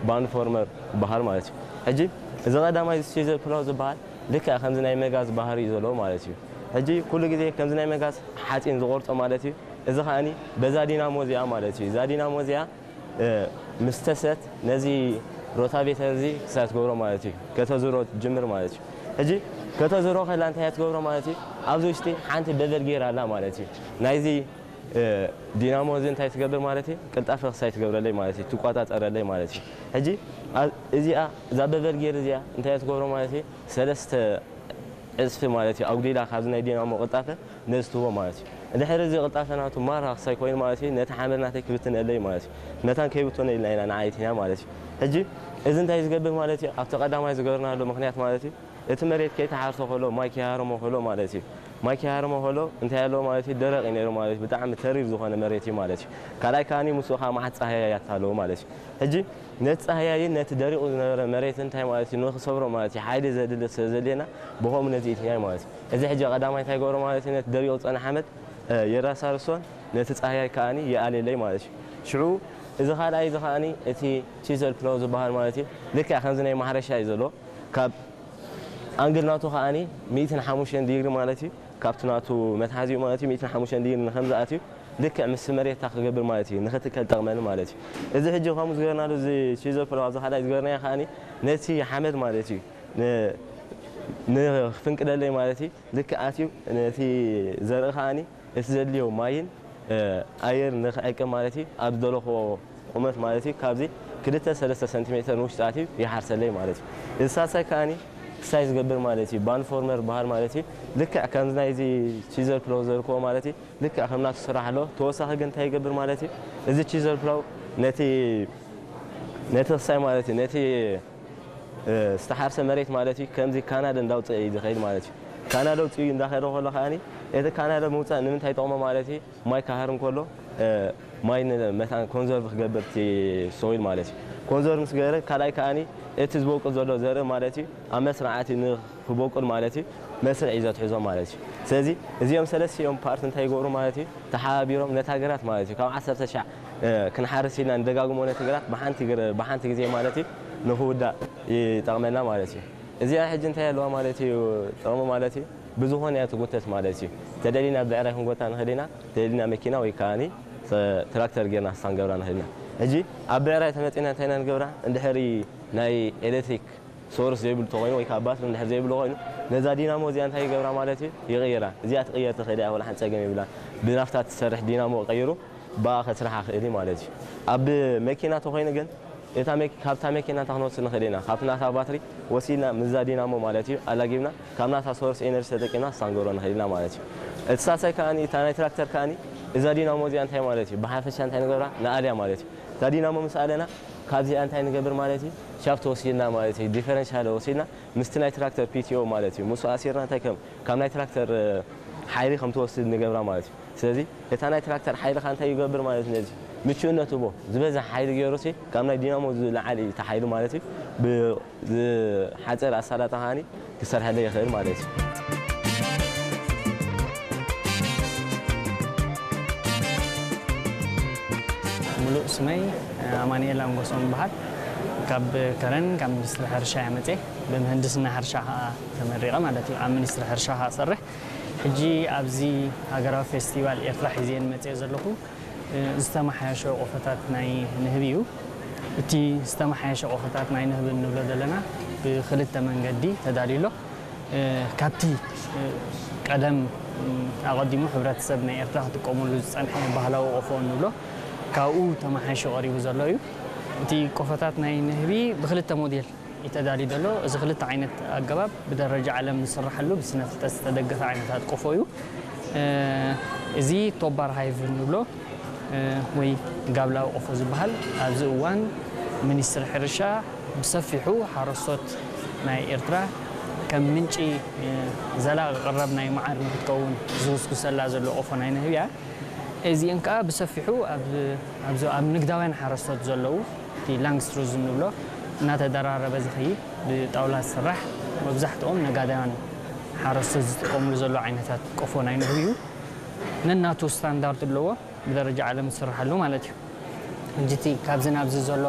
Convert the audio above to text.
ባንድ ፎርመር ዝበሃል ማለት እዩ። ሕጂ እዚ ቀዳማይ እዚ ሲዘር ፕላው ዝበሃል ልክዕ ከምዚ ናይ መጋዝ ባህሪ እዩ ዘለዎ ማለት እዩ። ሕጂ ኩሉ ግዜ ከምዚ ናይ መጋዝ ሓፂን ዝቆርፆ ማለት እዩ። እዚ ከዓኒ በዛ ዲናሞ እዚኣ ማለት እዩ። እዛ ዲናሞ እዚኣ ምስ ተሰት ነዚ ሮታቬተር እዚ ክሳይ ትገብሮ ማለት እዩ። ከተዝሮ ትጅምር ማለት እዩ። ሕጂ ከተዝሮ ከላ እንታይ እያ ትገብሮ ማለት እዩ? ኣብዚ ውሽጢ ሓንቲ በቨል ጌር ኣላ ማለት እዩ። ናይዚ ዲናሞ እዚ እንታይ ትገብር ማለት እዩ? ቅልጣፈ ክሳይ ትገብረለይ ማለት እዩ። ትቆፃፀረለይ ማለት እዩ። ሕጂ እዚኣ እዛ በቨል ጌር እዚኣ እንታይ እያ ትገብሮ ማለት እዩ? ሰለስተ ዕፅፊ ማለት እዩ ኣጉዲላ ካብዚ ናይ ዲናሞ ቅልጣፈ ነዚ ትህቦ ማለት እዩ። እንድሕር እዚ ቅልጣፈ ናቱ ማራ ክሳይ ኮይኑ ማለት እዩ ነቲ ሓመድ ናተይ ክብትነለይ ማለት እዩ። መታን ከይብትኖ ኢልና ኢና ንዓይትና ማለት እዩ። ሕጂ እዚ እንታይ ዝገብር ማለት እዩ? ኣብቲ ቀዳማይ ዝገበርናሉ ምክንያት ማለት እዩ እቲ መሬት ከይተሓርሶ ከሎ ማይ ከይሃረሞ ከሎ ማለት እዩ። ማይ ከይሃረሞ ከሎ እንታይ ኣለዎ ማለት እዩ? ደረቕ እዩ ነይሩ ማለት እዩ። ብጣዕሚ ተሪር ዝኾነ መሬት እዩ ማለት እዩ። ካልኣይ ከዓኒ ምስኡ ከዓ መዓት ፃህያያት ኣለዎ ማለት እዩ። ሕጂ ነቲ ፃህያይን ነቲ ደሪቑ ዝነበረ መሬት እንታይ ማለት እዩ ንክሰብሮ ማለት እዩ ሓይሊ ዘድሊ ስለ ዘድልየና ብኸምኡ ነዚ ኢትናይ ማለት እዩ። እዚ ሕጂ ቀዳማይ እንታይ ገብሮ ማለት እዩ ነቲ ደሪቑ ዝፀነ ሓመድ የራሳርሶን ነቲ ፃህያይ ከዓኒ ይኣልየለይ ማለት እዩ። ሽዑ እዚ ካልኣይ እዚ ከዓኒ እቲ ቺዘል ፕላው ዝበሃል ማለት እዩ ልክዕ ከምዚ ናይ ማሕረሻ እዩ ዘሎ ካብ ኣንግል ናቱ ከዓኒ ሚእትን ሓሙሽተን ዲግሪ ማለት እዩ ካብቲ ናቱ መትሓዚኡ ማለት እዩ ሚእትን ሓሙሽተን ዲግሪ ንከምዝኣት እዩ ልክዕ ምስ መሬታ ክገብር ማለት እዩ ንክትከል ጠቕመኒ ማለት እዩ። እዚ ሕጂ ከምኡ ዝገርናሉ እዚ ቺዘል ፕላው ኣብዚ ካልኣይ ዝገርናዮ ከዓኒ ነቲ ሓመድ ማለት እዩ ንክፍንቅለለይ ማለት እዩ ልክዕ ኣትዩ ነቲ ዘርኢ ከዓኒ እቲ ዘድልዮ ማይን ኣየር ንክዕቅብ ማለት እዩ ኣብ ዝደለኽዎ ቁመት ማለት እዩ ካብዚ ክልተ ሰለስተ ሰንቲሜተር ንውሽጢ ኣትዩ ይሓርሰለይ ማለት እዩ። እዚ ሳልሳይ ከዓኒ ክሳይ ዝገብር ማለት እዩ ባንድ ፎርመር በሃል ማለት እዩ። ልክዕ ከምዚ ናይዚ ቺዘር ፕላው ዘርክቦ ማለት እዩ ልክዕ ከም ናቱ ስራሕ ኣለዎ። ተወሳኺ ግን እንታይ ይገብር ማለት እዩ እዚ ቺዘር ፕላው ነቲ ነቲ ክሳይ ማለት እዩ ነቲ ዝተሓርሰ መሬት ማለት እዩ ከምዚ ካናል እንዳውፅእ እዩ ዝኸይድ ማለት እዩ። ካናል ኣውፅኡ እንዳኸደ ከሎ ከዓኒ እቲ ካናል ምውፃእ ንምንታይ ይጠቕሞ ማለት እዩ ማይ ካሃር እንከሎ ማይ መታን ኮንዘርቭ ክገብር እቲ ሶይል ማለት እዩ። ኮንዘርቭ ምስ ገበረ ካልኣይ ከዓኒ እቲ ዝበቁል ዘሎ ዘርኢ ማለት እዩ ኣብ መስርዓት ንክበቁል ማለት እዩ መስርዕ እዩ ዘትሕዞ ማለት እዩ። ስለዚ እዚኦም ሰለስቲኦም ፓርት እንታይ ይገብሩ ማለት እዩ ተሓባቢሮም ነታ ግራት ማለት እዩ ካብ ዓሰርተ ሻዕ ክንሓርስ ኢልና ንደጋግሞ ነቲ ግራት ብሓንቲ ግዜ ማለት እዩ ንክውዳእ ይጠቕመና ማለት እዩ። እዚኣ ሕጂ እንታይ ኣለዋ ማለት እዩ ጥቕሚ ማለት እዩ ብዝኾነ እያ ትጎተት ማለት እዩ። ተደሊና ብዕራይ ክንጎታ ንኽእል ኢና፣ ተደሊና መኪና ወይ ከዓኒ ትራክተር ጌርና ክሳን ገብራ ንኽእል ኢና። ሕጂ ኣብ ብዕራይ ተመፂና እንታይ ኢና ንገብራ እንድሕሪ ናይ ኤሌክትሪክ ሶርስ ዘይብሉ ተኮይኑ ወይ ከዓ ባትሪ እንድሕር ዘይብሉ ኮይኑ ነዛ ዲናሞ እዚኣ እንታይ ይገብራ ማለት እዩ ይቕይራ። እዚኣ ትቕየር ትኽእል እያ ወላ ሓንቲ ፀገም የብላን። ብናፍታ ትሰርሕ ዲናሞ ቀይሩ ብኣ ከስርሓ ክእል እዩ ማለት እዩ። ኣብ መኪና ተኮይኑ ግን እታ መኪ- ካብታ መኪና እንታይ ክንወስድ ንኽእል ኢና? ካብቲ ናታ ባትሪ ወሲድና ምስዛ ዲናሞ ማለት እዩ ኣላጊብና ካብ ናታ ሶርስ ኤነርጂ ተጠቂምና ክሳንገሮ ንኽእል ኢና ማለት እዩ። እቲ ሳልሳይ ከዓኒ እታ ናይ ትራክተር ከዓኒ እዛ ዲናሞ እዚኣ እንታይ ማለት እዩ ብሓፈሻ እንታይ ንገብራ ንኣልያ ማለት እዩ። እታ ዲናሞ ምስ ኣለና ካብዚኣ እንታይ ንገብር ማለት እዩ ሻፍት ወሲድና ማለት እዩ ዲፈረንሻል ወሲድና ምስቲ ናይ ትራክተር ፒቲኦ ማለት እዩ ምስኡ ኣሲርና እንታይ ከም ካብ ናይ ትራክተር ሓይሊ ከም ትወስድ ንገብራ ማለት እዩ። ስለዚ እታ ናይ ትራክተር ሓይሊ ከ እንታይ ይገብር ማለት ነዚ ምቹእነት ህቦ ዝበዝሕ ሓይሊ ገይሩ ሲ ካብ ናይ ዲናሞ ዝለዓል እዩ እቲ ሓይሊ ማለት እዩ። ብዝሓፀረ ኣሳላጣ ከዓኒ ክሰርሐለይ ይኽእል ማለት እዩ። ሙሉእ ስመይ ኣማኑኤል ኣንጎሶም ይበሃል። ካብ ከረን ካብ ሚኒስትሪ ሕርሻ እየ መፅየ። ብምህንድስና ሕርሻ ከዓ ተመሪቐ ማለት እዩ። ኣብ ሚኒስትሪ ሕርሻ ከዓ እሰርሕ። ሕጂ ኣብዚ ሃገራዊ ፌስቲቫል ኤርትራ ሒዘየን መፅየ ዘለኹ ዝተመሓየሸ ቆፎታት ናይ ንህቢ እዩ። እቲ ዝተመሓየሸ ቆፎታት ናይ ንህቢ እንብሎ ዘለና ብክልተ መንገዲ ተዳልዩ ኣሎ። ካብቲ ቀደም ኣቐዲሙ ሕብረተሰብ ናይ ኤርትራ ክጥቀመሉ ዝጸንሐ ባህላዊ ቆፎ እንብሎ ካብኡ ተመሓይሹ ቀሪቡ ዘሎ እዩ። እቲ ቆፎታት ናይ ንህቢ ብክልተ ሞዴል እዩ ተዳልዩ ዘሎ። እዚ ክልተ ዓይነት ኣገባብ ብደረጃ ዓለም ዝስርሓሉ ብስነ ፍልጠት ዝተደገፈ ዓይነታት ቆፎ እዩ። እዚ ቶባር ሃይቭ እንብሎ ወይ ጋብላዊ ቆፎ ዝበሃል ኣብዚ እዋን ሚኒስትሪ ሕርሻ ብሰፊሑ ሓረስቶት ናይ ኤርትራ ከም ምንጪ ዘላቒ ቀረብ ናይ መዓር ንክትከውን ዝጉስጉሰላ ዘሎ ቆፎ ናይ ንህቢ እያ። እዚአን ከዓ ብሰፊሑ ኣብ ንግዳውያን ሓረስቶት ዘለዉ እቲ ላንግስትሩዝ እንብሎ እናተደራረበ ዝኸይድ ብጣውላ ዝስራሕ መብዛሕትኦም ነጋዳውያን ሓረስቶት ዝጥቀምሉ ዘሎ ዓይነታት ቆፎ ናይ ንህቢ እዩ። ነናቱ ስታንዳርድ ኣለዎ። ብደረጃ ዓለም ዝስርሓሉ ማለት እዩ። ሕጂ እቲ ካብዚ ናብዚ ዘሎ